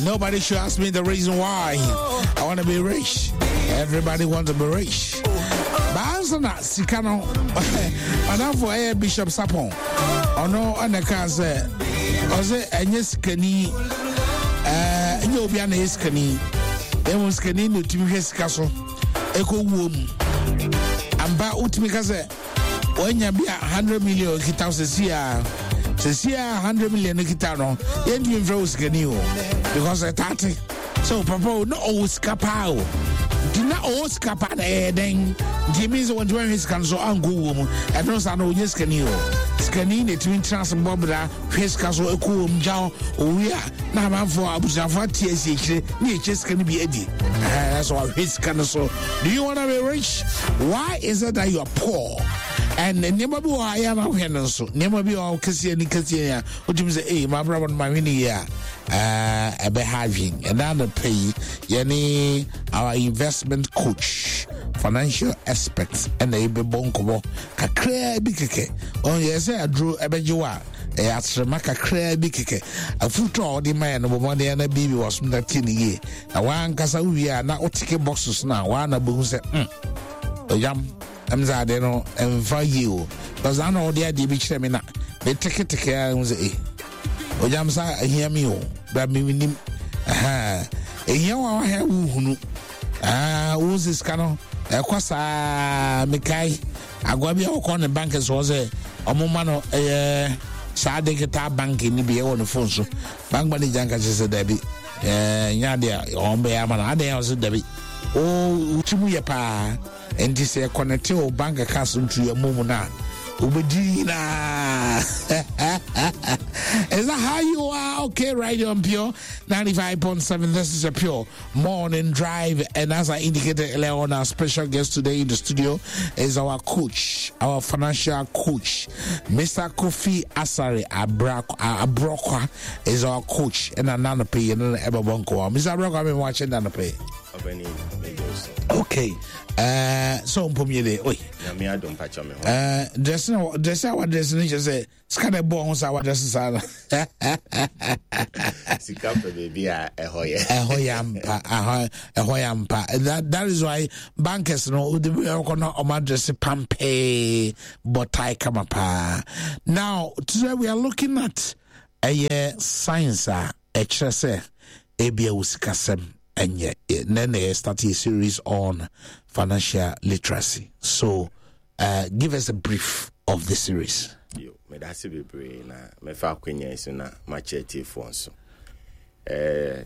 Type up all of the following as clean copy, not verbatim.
Nobody should ask me the reason why I want to be rich. Everybody wants to be rich. But na sika no madamfo ɛyɛ Bishop Sapon. Ɔno ɛna kaa sɛ ɔsɛ ɛnyɛ sikani ɛɛ ɛnyɛ obi a na ɛyɛ sikani. Ɛmu sikani na otumi hwɛ sika so ɛkɔ wuo mu. Ampa wotumi ka sɛ wanya bi a 100 million kita wo sɛsi a sɛsi a 100 million no kita no yɛntumi mfrɛ wo sikani o because ɛtate sɛ wo papa o na ɔwɔ sika paa o nti na ɔwɔ sika paa na ɛyɛ dɛn nti ɛmi sɛ wɔntumi ahwɛ sika no so ankɔ wuo mu ɛno saa no ɔnyɛ sikani o sikani na ɛtumi tena ase bɔ bra hwɛ sika so ɛkɔ wɔ mu gya owie a na amanfoɔ abusuafoɔ ate asi akyire ne yɛkyɛ sika no bi adi ɛɛ sɛ wahwɛ sika no so. Do you want to be rich? Why is it that you are poor? And nneɛma bi wɔ hɔ a yɛ anahwɛ no nso nneɛma bi wɔ hɔ kɛseɛ ne kɛseɛ a wotumi sɛ ee maa brabɔ no ma hwɛ ne yie a ɛbɛha adwen ɛna anɔpɛ yi yɛne our investment coach financial expert ɛna yɛbɛbɔ nkɔmmɔ kakraa bi kɛkɛ ɔn yɛ sɛ aduro ɛbɛgye wɔ a ɛyɛ aserema kakraa bi kɛkɛ afutu a ɔde ma yɛ no bɔ mmɔden na biribi wɔ so na tie ne yie Na w'ankasa wowie a na woteke boxes no a woa na bɛhu sɛ mm, ɔyam ɛm sɛ adeɛ no ɛmfa yie o because na na ɔde adeɛ bi kyerɛ me na meteketeke a ɛhu sɛ eh ɔyam sa ahia mi o bra menim ɛhia wa wahɛ wohunu wo sɛ sika no ɛkɔ saa mekae agoa bi a wɔkɔ ne bank soɔ sɛ ɔmo ma no ɛyɛ saa digital bank no bi ɛwɔ ne phone so. Bank manager nka kyerɛ sɛ dabi ɛɛ nyɛ adeɛ a wɔn bɛyɛ ama no adeɛ a ɔsɛ dabi o wotiri mu yɛ paa nti sɛ kɔnɛte o bank account ntu yɛ mu mu na wobɛdi nyinaa. Is that how you are? Okay, right on Pure 95.7. This is a Pure Morning Drive. And as I indicated earlier on, our special guest today in the studio is our coach, our financial coach, Mr. Kofi Asare Abrokwa is our coach. And another pay and Mr. Abrokwa, I'm watching that pay. Okay. So mpom oi. Dressing dressing our dressing just say sika na ɛbɔ ho saa wadrɛse saa no. Sika pɛ baabi a ɛhɔ yɛ. Ɛhɔ yɛ ampa, ɛhɔ yɛ ampa. That is why bankers no wode bi ɛkɔ na ɔmo adrɛse pampee bɔ tie kama paa. Now today we are looking at ɛyɛ science a ɛkyerɛ sɛ ebia wo sikasɛm ɛnyɛ. Then they start a series on financial literacy. So give us a brief of the series. Yo, meda ase bebree na mɛfa akwanya yi so na makyerɛ tiefoɔ nso.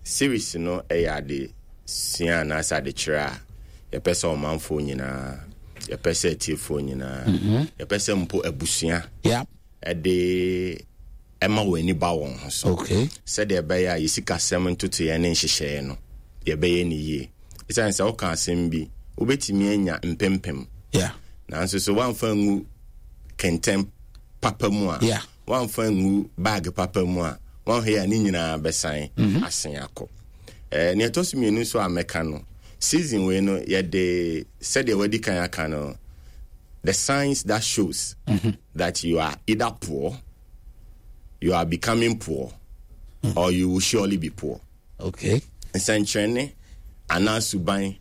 Series no ɛyɛ ade sua anaasɛ adekyerɛ a yɛpɛ sɛ ɔmanfoɔ nyinaa, yɛpɛ sɛ atiefoɔ nyinaa, yɛpɛ sɛ mpo abusua ɛde ɛma wɔn ani ba wɔn ho so. Sɛdeɛ ɛbɛyɛ a yɛsikasɛm ntotoeɛ ne nhyehyɛeɛ no yɛbɛyɛ ne yie. Ɛsiane sɛ woka asɛm bi, wobɛtumi anya mpempem. Nanso sɛ woamfa ngu kɛntɛn papa mu a, woamfa ngu bag papa mu a, woanhwɛ a ne nyinaa bɛsan asen akɔ. Nea ɛtɔ so mmienu nso a mɛka no, season wei no yɛde sɛdeɛ wadi kan aka no, the signs that shows that you are either poor, you are becoming poor, or you will surely be poor. Nsɛnkyerɛnne anaa suban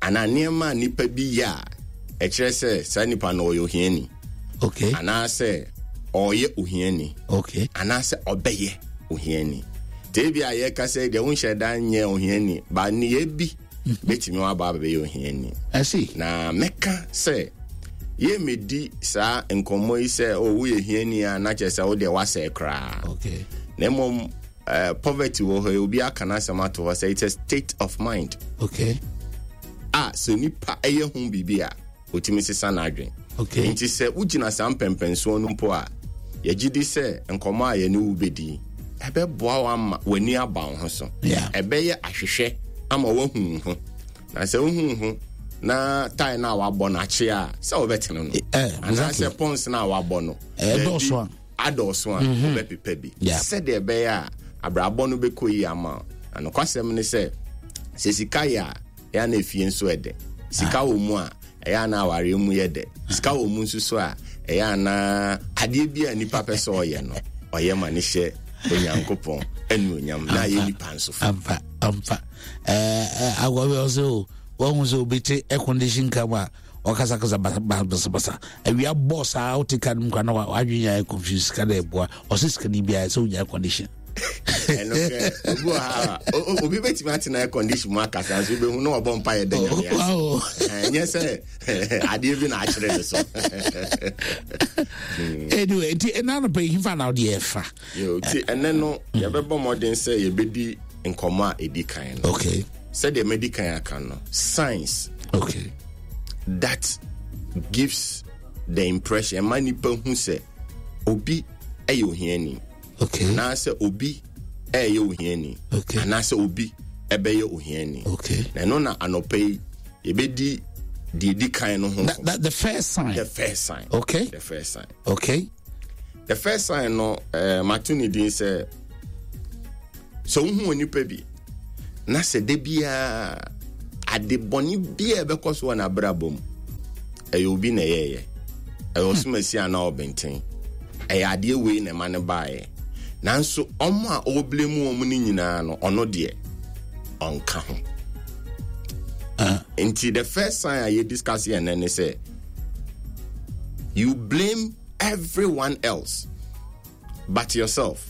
anaa nneɛma a nipa bi yɛ a ɛkyerɛ sɛ saa nipa no ɔyɛ ohiani. Anaasɛ ɔyɛ ohiani. Anaasɛ ɔbɛyɛ ohiani. Te bi a yɛka sɛ deɛ wonhyɛ da nyɛ ohiani, ba nneyɛɛ bi bɛtumi waba abɛyɛ ohiani. I see. Na mɛka sɛ yɛmmɛdi saa nkɔmmɔ yi sɛ oh, woyɛ hiani a na kyerɛ sɛ wodeɛ woasɛe koraa. Na mmom poverty wɔ hɔ yi, obi aka n'asɛm ato hɔ sɛ it's a state of mind. A sɛ nipa ɛyɛ ho biribi a otumi sesa n'adwen. Nti sɛ wogyina saa mpɛmpɛnsoɔ no mpo a, yɛgye di sɛ nkɔmmɔ a yɛne wo bɛdi ɛbɛboa wo ama w'ani aba wo ho so. Ɛbɛyɛ ahwehwɛ ama woahu wo ho. Na sɛ wohu wo ho na tae no a wabɔ no akye a, sɛ wobɛtene no. Anaasɛ pɔns no a wabɔ no, ɛdɔɔso a adɔɔso a wobɛpepa bi. Sɛdeɛ ɛbɛyɛ a abrabɔ no bɛkɔ yie ama wo. Na nokwasɛm ne sɛ, sɛ sika yɛ a, ɛyɛ na efie nso ɛdɛ. Sika wɔ mu a, ɛyɛ na awareɛ mu yɛ dɛ. Sika wɔ mu nso so a, ɛyɛ na adeɛ bi a nipa pɛ sɛ ɔyɛ no, ɔyɛ ma ne hyɛ. Onyankopɔn anuonyam na ayɛ nipa nso fo. Ampa, ampa. Agɔbɛ ɔsɛ o, wɔn sɛ obi te air condition car mu a ɔkasakasa basabasa. Awia bɔ saa wote car no mu kwa na wadwene ayɛ confused, sika na ɛboa. Ɔsɛ sika ni biara sɛ wonya air condition. Ɛno kɛ obi wɔ ha a obi bɛtumi atena air condition mu akasa nso wobɛhu na ɔbɔ mpa yɛ da Nyame ase. Ɛnyɛ sɛ adeɛ bi na akyerɛ ne so. Anyway, nti ɛna anɔpa yi hefa na wode ɛfa? Nti ɛnɛ no yɛbɛbɔ mmɔden sɛ yɛbɛdi nkɔmmɔ a ɛdi kan no. Okay. Sɛdeɛ madi kan aka no, science that gives the impression, ɛma nipa hu sɛ obi ɛyɛ ohiani. Okay. Anaasɛ obi ɛyɛ ohiani. Okay. Anaasɛ obi ɛbɛyɛ ohiani. Okay. Na ɛno na anɔpa yi yɛbɛdi deɛ ɛdi kan no ho. The first sign. The first sign. Okay. The first sign. Okay. The first sign no, mato ne din sɛ sɛ wohu onipa bi na sɛ da biara ade bɔne biara ɛbɛkɔ so wɔ n'abrabɔ mu, ɛyɛ obi na ɛyɛɛyɛ, ɛyɛ ɔsomasi anaa ɔbɛnten, ɛyɛ adeɛ wei na ɛma no baeɛ, nanso ɔmo a ɔreble mu ɔmo no nyinaa no, ɔno deɛ ɔnka ho. Nti the first sign a yɛ discuss yɛn nɛ ne sɛ you blame everyone else but yourself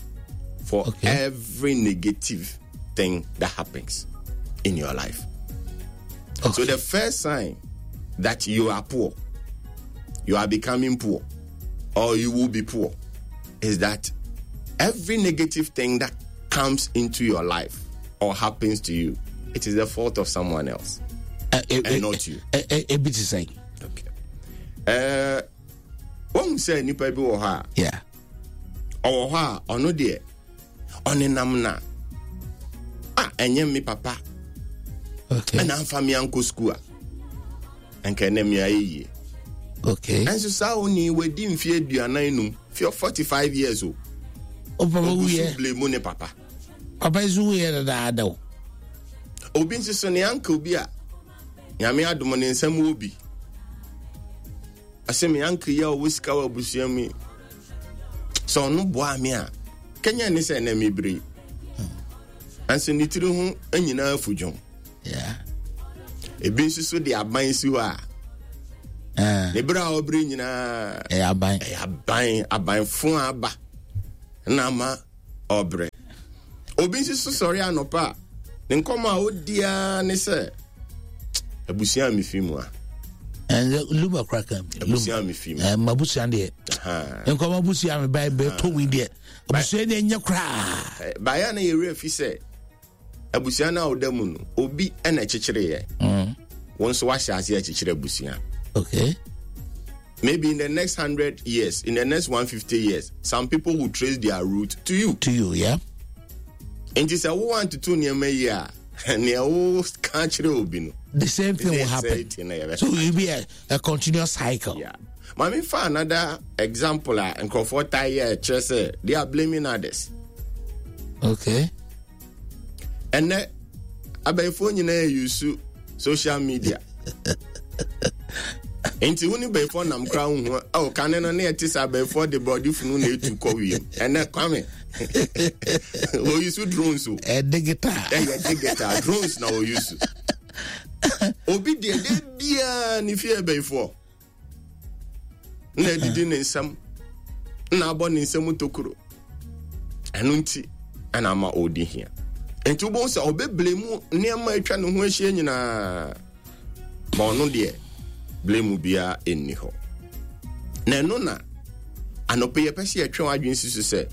for every negative thing that happens in your life. Okay. So the first sign that you are poor, you are becoming poor, or you will be poor, is that every negative thing that comes into your life or happens to you, it is the fault of someone else and not you. Ebi te sɛn? Okay. Wɔn sɛ nipa bi wɔ hɔ a, Yeah. ɔwɔ hɔ a ɔno deɛ ɔnenam na a ɛnyɛ me papa. Okay. Ɛna nfa me ankɔ sukuu a nka ɛnɛ me ayɛ yie. Okay. Ɛnso saa oni wadi mfe 45, 45 years o. O papa Ogu so wuyɛ. blame ne papa. Papa nso wuyɛ dadaada o. Obi nso so ne uncle bi a Nyame adom ne nsɛm wɔ bi. Ɔsɛ me uncle yi a ɔwɔ sika wɔ abusua mu yi, sɛ ɔno boa me a, kɛnyɛ ne sɛ ɛnɛ mebere yi. Nanso ne tiri ho nyinaa fu dwom. Yeah. Ebi nso so de aban si hɔ a, ne bere a ɔbere nyinaa ɛyɛ aban. Ɛyɛ aban, aban fo aba na ama ɔbrɛ. Obi nso so sɔre anɔpa a, ne nkɔmmɔ a ɔdi ara ne sɛ, abusua a mefi mu a. Ɛnɛ Luma kora kan bi. Abusua a mefi mu. Mabusua deɛ. Nkɔmɔ abusua me ba bɛ to wi deɛ. Abusua deɛ nyɛ koraa. Baayɛ na yɛwerɛ fi sɛ abusua no a ɔda mu no, obi na ɛkyekyereeɛ. Wo nso wahyɛ ase akyekyere abusua. Okay. Maybe in the next 100 years, in the next 150 years, some people will trace their root to you. To you, yeah. Nti sɛ wo antoto nneɛma yi a, nea wo ka kyerɛ obi no, the same thing will happen. Same thing, yeah. So it will be a continuous cycle. Yeah. Mami fa another example a nkurɔfoɔ taa yɛ kyerɛ sɛ they are blaming others. Okay. Ɛnɛ abɛɛfoɔ nyinaa use social media. Nti wo ne bɛyifoɔ nam koraa wo hu a, oh, kane no ne ɛte sɛ abɛyifoɔ de borɔde funu na etu kɔ wiem. Ɛnɛ Kwame, wɔyi so drones o. Ɛ digital. Ɛyɛ digital drones na wɔyi so. Obi deɛ de biara ne fie bɛyifoɔ na adidi ne nsam na abɔ ne nsam tokuro. Ɛno nti ɛna ama ɔredi hia. Nti wobɛhu sɛ ɔbɛbile mu nneɛma atwa ne ho ahyia nyinaa. Ma ɔno deɛ blame biara nni hɔ. Na ɛno na anɔpɛ yɛpɛ sɛ yɛtwe w'adwene si so sɛ,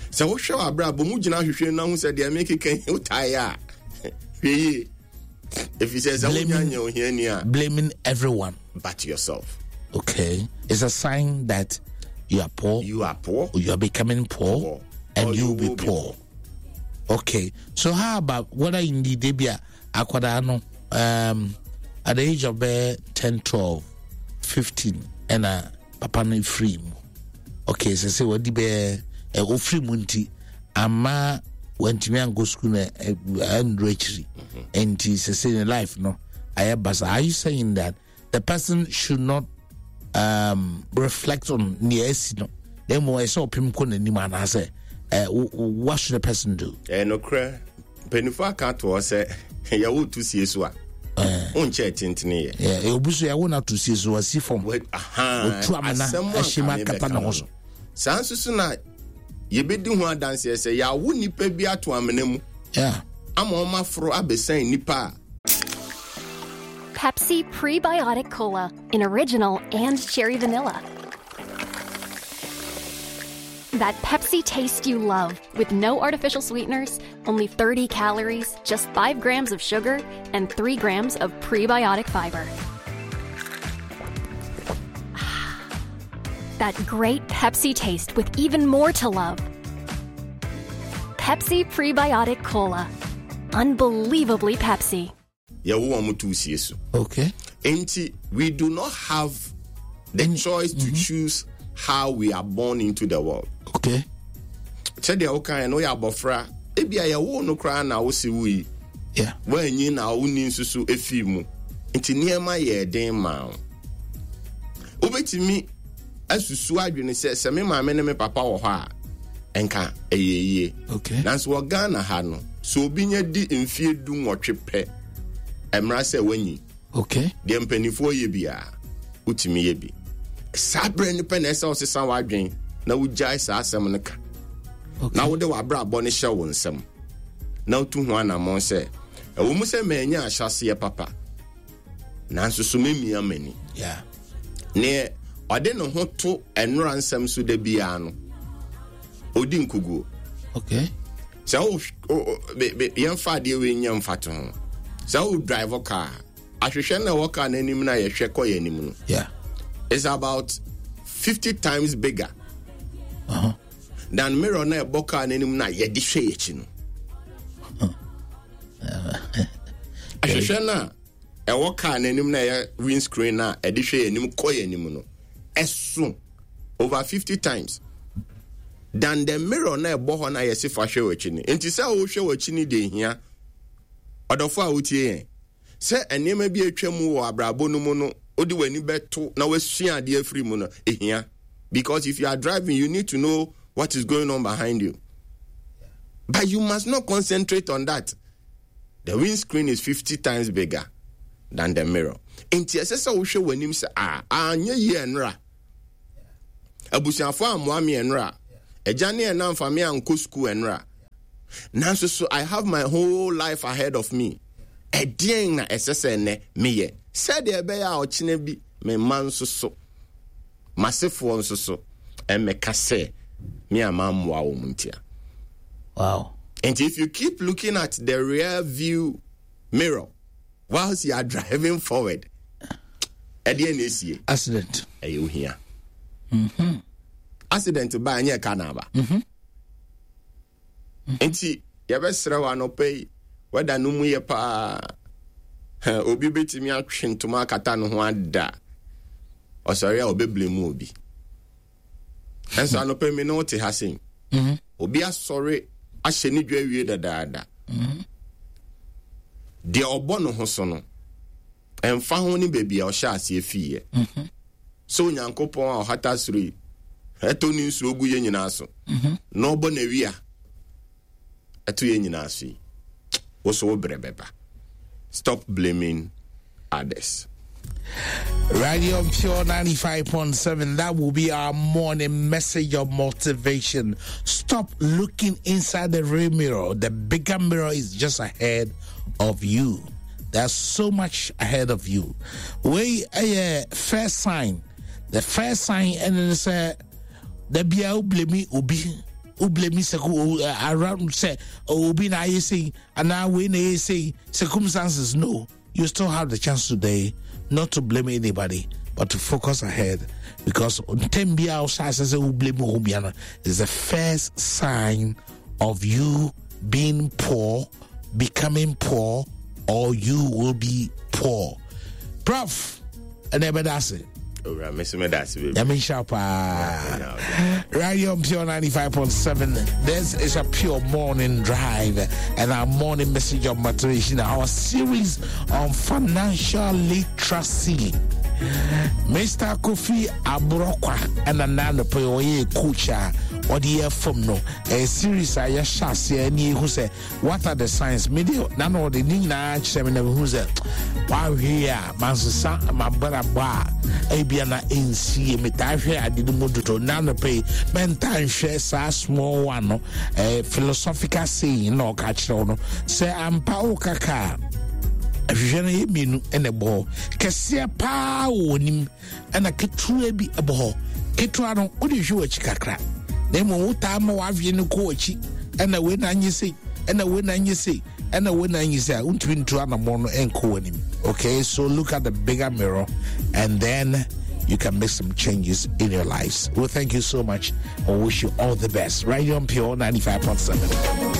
sɛ wohwɛ w'abrabɔ mu gyina ahwehwɛ no ahu sɛ deɛ mekeka yi wotaeɛ a, hwɛ yie. Ɛfiri sɛ sɛ wonya nyɛ ohiani a, blaming everyone but yourself. Okay. It's a sign that you are poor. You are poor. You are becoming poor, Poor. And Or you you will be will be poor. Okay. So how about whether indeed they be a akwadaa no, at the age of 10, 12, 15, and a papa no free mu. Okay, so say what be a free mu nti ama wantumi ankɔ school na anduru akyiri. Nti sɛ say in life no ayɛ basa. Are you saying that the person should not reflect on nea asi no? Na mmom ɛsɛ ɔpem kɔ n'anim anaasɛ What should a person do? Ɛyɛ nokorɛ, mpanimfoɔ aka ato hɔ sɛ yɛwo to sie so a, wonkyɛ tentene yɛ. Obi so yɛwo no ato sie so, wasi fam. Otu amena ahyɛ mu akata ne ho so. Saa nso so na yɛbɛdi ho adanseɛ sɛ yɛawo nnipa bi ato amena mu ama wɔn aforo abɛsan nnipa a. Pepsi Prebiotic Cola in original and cherry vanilla. That Pepsi taste you love with no artificial sweeteners, only 30 calories, just 5 grams of sugar, and 3 grams of prebiotic fiber. That great Pepsi taste with even more to love. Pepsi Prebiotic Cola. Unbelievably Pepsi. Yɛwo wɔn to sie so. Enti we do not have the choice to choose how we are born into the world. Sɛdeɛ wokaeɛ no, woyɛ abɔfra, ebia yɛwoo no koraa na wose wui. Woanyi na wonni nso so efii mu. Nti nneɛma yɛɛ den maa wo. Wobɛtumi asusu adwene sɛ sɛ me maame ne me papa wɔ hɔ a, nka ɛyɛ yie. Nanso wɔ Ghana ha no, sɛ obi nya di mfeɛ 18 pɛ, ɛmmra sɛ wanyi. Deɛ mpanimfoɔ yɛ biara, wotumi yɛ bi. Saa berɛ no pɛ na ɛsɛ wosesa w'adwene na wogyae saa asɛm no ka. Na wode w'abrabɔ no hyɛ wo nsam na wotu ho anammɔn sɛ, ɛwɔ mu sɛ manya ahyɛaseɛ papa, nanso so memia m'ani. Neɛ ɔde ne ho to nnora nsɛm so da biara no, ɔdi nkoguo. Sɛ wo, yɛmfa adeɛ wei nyɛ mfato ho. Sɛ wo drive car, ahwehwɛ na ɛwɔ car n'anim na yɛhwɛ kɔ yɛn anim no. It's about 50 times bigger than mirror na ɛbɔ car n'anim na yɛde hwɛ yɛn akyi no. Ahwehwɛ no a ɛwɔ car n'anim na ɛyɛ windscreen na ɛde hwɛ yɛn anim kɔ yɛn anim no, ɛso over 50 times than the mirror na ɛbɔ hɔ na yɛsi fa hwɛ w'akyi no. Nti sɛ wohwɛ w'akyi no deɛ ehia ɔdɔfo a wotie yɛn sɛ nneɛma bi atwa mu wɔ abrabɔ no mu no, wode w'ani bɛto na wasua adeɛ afiri mu no ehia, because if you are driving, you need to know what is going on behind you, but you must not concentrate on that. The windscreen is 50 times bigger than the mirror. Nti ɛsɛ sɛ wohwɛ w'anim sɛ a anyɛ yie ɛnora, abusuafo ammoa me ɛnora, agya ne ɛna mfa me ankɔ sukuu ɛnora, nanso so I have my whole life ahead of me. Ɛdeɛn na ɛsɛ sɛ ɛnɛ meyɛ sɛdeɛ ɛbɛyɛ a ɔkyena bi me mma nso so, m'asefoɔ nso so ɛmmɛka sɛ me a mammoa wɔn ntia. Nti if you keep looking at the rear view mirror whilst you are driving forward, ɛdeɛ na esie? Accident. Ɛyɛ ohia. Accident ba, ɛnyɛ ka na aba. Nti yɛbɛsrɛ wɔ anɔpa yi, wɛda no mu yɛ paa. Obi bɛtumi atwe ntoma akata ne ho ada. Ɔsɔre a ɔbɛblame mu obi. Ɛnso anɔpa mi ne wote ha sei. Obi asɔre ahyɛ ne dwa awie dadaada. Deɛ ɔbɔ ne ho so no, ɛmfa ho ne baabi a ɔhyɛ aseɛ fiiɛ. Sɛ Onyankopɔn a ɔhata soro yi, ɛtɔ ne nsuo gu yɛn nyinaa so, na ɔbɔ n'awia ɛto yɛn nyinaa so yi, wo so wo brɛ bɛba. Stop blaming others. Radio Pure 95.7. That will be our morning message of motivation. Stop looking inside the rear mirror. The bigger mirror is just ahead of you. There's so much ahead of you. We a first sign. The first sign, and then say the bia blame obi, blame sɛ around sɛ obi na ayɛ sei anaa wei na ɛyɛ sei circumstances. No, you still have the chance today not to blame anybody, but to focus ahead, because ntɛm bi a ɔhyɛ ase sɛ wo blame wo bia no is the first sign of you being poor, becoming poor, or you will be poor. Prof, ɛna ɛbɛda ase. Owura, me so meda ase bebree. Nyame nhyira paa. Radio Pure 95.7. This is a pure morning drive and our morning message of motivation, our series on financial literacy. Mr. Kofi Abrokwa and Anano Oye coach. ɔde yɛ fam no. Ɛyɛ series a yɛhyɛ aseɛ ne yɛhu sɛ what are the signs. Me deɛ na na ɔde ne nyinaa kyerɛ me na mehu sɛ wanhwɛ yi a mansesa mabrabɔ a ebia na ɛnsie. Metaa hwɛ ade no mu dodo na anɔpɛ yi mɛntaa nhwɛ saa small one no. Philosophical saying na ɔka kyerɛ wo no sɛ ampa woka ka a ahwehwɛ no yɛ mmienu ɛna ɛbɔ hɔ kɛseɛ paa wɔ w'anim ɛna ketewa bi ɛbɔ hɔ. Ketewa no wode hwɛ w'akyi kakra na mmom wotaa ma w'adwene no kɔ w'akyi ɛna wei na anyɛ sei ɛna wei na anyɛ sei ɛna wei na anyɛ sei a wontumi ntu anammɔn no ɛnkɔ w'anim. Okay, so look at the bigger mirror and then you can make some changes in your lives. Well, thank you so much. I wish you all the best. Right here on Pure 95.7.